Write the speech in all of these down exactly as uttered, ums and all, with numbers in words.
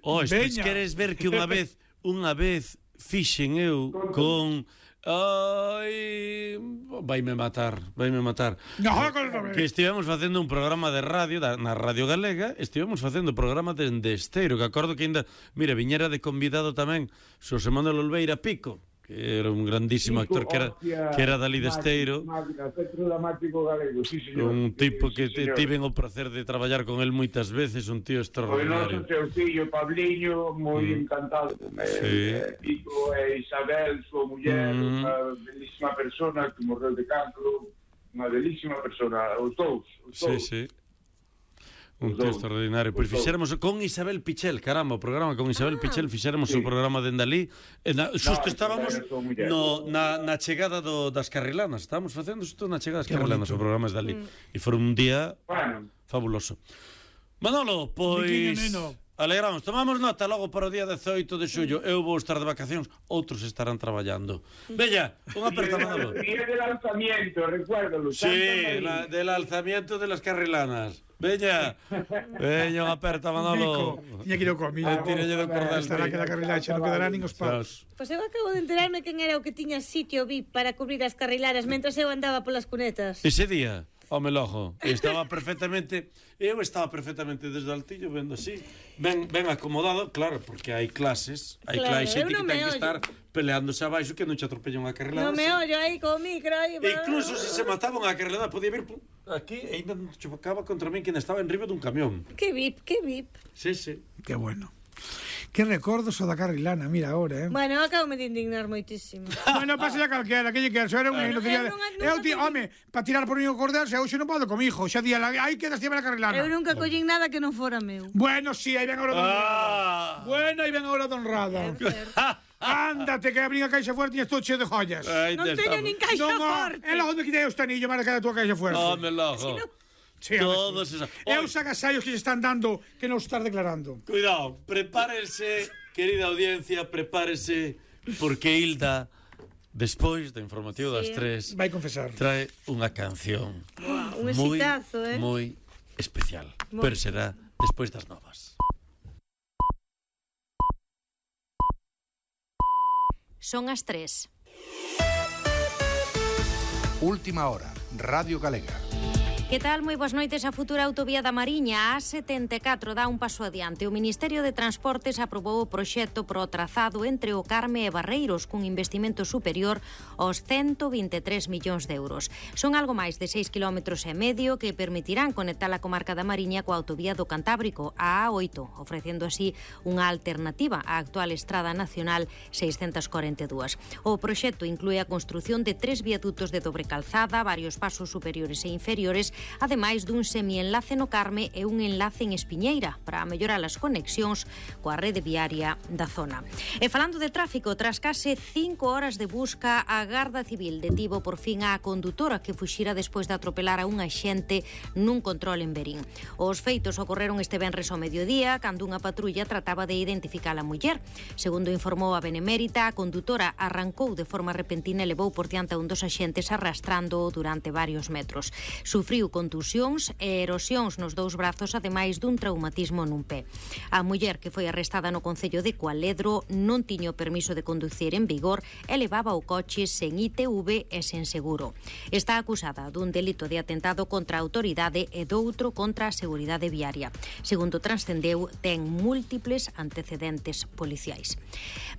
Oh, pois queres ver que unha vez unha vez fixen eu con... Ai, vaime matar, vaime matar. No, que estivemos facendo un programa de radio da, na Radio Galega, estivemos facendo programa de Esteiro, que acordo que ainda, mira, viñera de convidado tamén Xosé Manuel Olveira Pico, que era un grandísimo actor que era, que era dali de Esteiro, un tipo que te, tiven o placer de traballar con el moitas veces, un tío extraordinario. O noso teu fillo Pabliño, moi mm. encantado con sí. eh, Pico e Isabel, súa muller, mm. unha belísima persona que morreu de cancro, unha belísima persona, os dous, os dous. Sí, sí. Un tío extraordinario. Pois pues fixéramos con Isabel Pichel, caramba, o programa con Isabel ah, Pichel, fixéramos sí. o programa de Endalí. Xusto no, estábamos no, na, na chegada do, das carrilanas. Estábamos facendo xusto na chegada das carrilanas, o programa de Endalí. Mm. E foi un día bueno. fabuloso. Manolo, pois... Alegramos, tomamos nota logo para o día dezoito de xullo. Eu vou estar de vacacións, outros estarán traballando. Bella, unha aperta, Manolo. Día del alzamiento, recuérdalo. Sí, la, del alzamiento de las carrilanas. Bella, veña unha aperta, Manolo. Tiña que ir ao comido. Tiña do cordel. Estará que la carrilaxa non quedará nin os paus. Pois eu acabo de enterarme quen era o que tiña sitio V I P para cubrir as carrilaras mentras eu andaba polas cunetas. Ese día? Home, lojo, estaba perfectamente eu estaba perfectamente desde o altillo vendo así, ben, ben acomodado, claro, porque hai clases, hai claro, xente que ten que estar peleándose abaixo que non che atropella unha carrelada. Non me ollo aí co micro aí. E incluso se se mataba unha carrelada podía vir aquí e ainda non chocaba contra min que estaba en riba dun camión. Que V I P, que V I P. Sí, sí. Que bueno. Que recordos o da carrilana, mira agora, eh. Bueno, acabo de indignar moitísimo. Bueno, pasa a calquera, que lle quero, era un neno que eu ti, home, para tirar por un cordel, se hoxe non podo comigo, xa día, aí quedas tirar a carrilana. Eu nunca collín nada que non fora meu. Bueno, si, sí, aí ven a hora de honrada. Bueno, aí ven a hora de honrada. Ándate, que abrí a caixa fuerte e estou cheo de joyas. Non teño nin caixa forte. É lá onde quitei o estanillo, marca da tua caixa fuerte. Home, lojo. Sí, todos esos. É os agasallos que se están dando que non estás declarando. Cuidado, prepárense, querida audiencia, prepárese, porque Hilda, despois do informativo sí. das tres, vai confesar. Trae unha canción. Wow, un exitazo, eh. Moi especial, muy. Pero será despois das novas. Son as tres. Última hora, Radio Galega. Que tal? Moi boas noites. A futura autovía da Mariña, a setenta e catro, dá un paso adiante. O Ministerio de Transportes aprobou o proxecto pro trazado entre o Carme e Barreiros cun investimento superior aos ciento vinte e tres millóns de euros. Son algo máis de seis kilómetros e medio que permitirán conectar a comarca da Mariña coa autovía do Cantábrico, a A oito, ofrecendo así unha alternativa á actual Estrada Nacional seiscentos cuarenta e dous. O proxecto inclúe a construción de tres viadutos de dobre calzada, varios pasos superiores e inferiores, ademais dun semienlace no Carme e un enlace en Espiñeira para mellorar as conexións coa rede viaria da zona. E falando de tráfico, tras case cinco horas de busca, a Garda Civil detivo por fin a condutora que fuxira despois de atropelar a un axente nun control en Verín. Os feitos ocorreron este venres ao mediodía, cando unha patrulla trataba de identificar a muller. Segundo informou a Benemérita, a condutora arrancou de forma repentina e levou por diante a un dos axentes arrastrando durante varios metros. Sufriu contusións e erosións nos dous brazos, ademais dun traumatismo nun pé. A muller que foi arrestada no concello de Cualedro non tiña o permiso de conducir en vigor e levaba o coche sen I T V e sen seguro. Está acusada dun delito de atentado contra a autoridade e doutro contra a seguridade viaria. Segundo transcendeu, ten múltiples antecedentes policiais.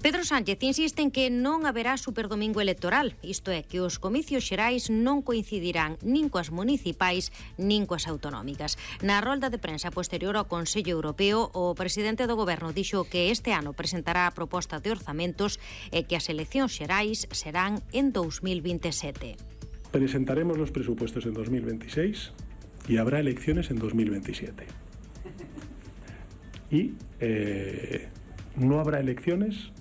Pedro Sánchez insiste en que non haberá superdomingo electoral, isto é, que os comicios xerais non coincidirán nin coas municipais nin coas autonómicas. Na rolda de prensa posterior ao Consello Europeo, o presidente do Goberno dixo que este ano presentará a proposta de orzamentos e que as eleccións xerais serán en dous mil vinte e sete. Presentaremos los presupuestos en dos mil veintiséis y habrá elecciones en dos mil veintisiete. Y eh, no habrá elecciones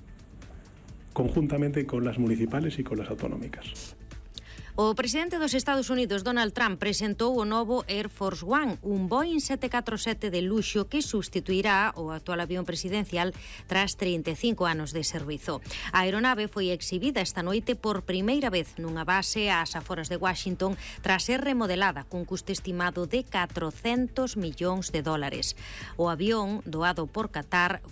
conjuntamente con las municipales y con las autonómicas. O presidente dos Estados Unidos, Donald Trump, presentou o novo Air Force One, un Boeing sete catro sete de luxo que sustituirá o actual avión presidencial tras trinta e cinco anos de servizo. A aeronave foi exhibida esta noite por primeira vez nunha base ás aforas de Washington tras ser remodelada cun custo estimado de catrocentos millóns de dólares. O avión, doado por Qatar,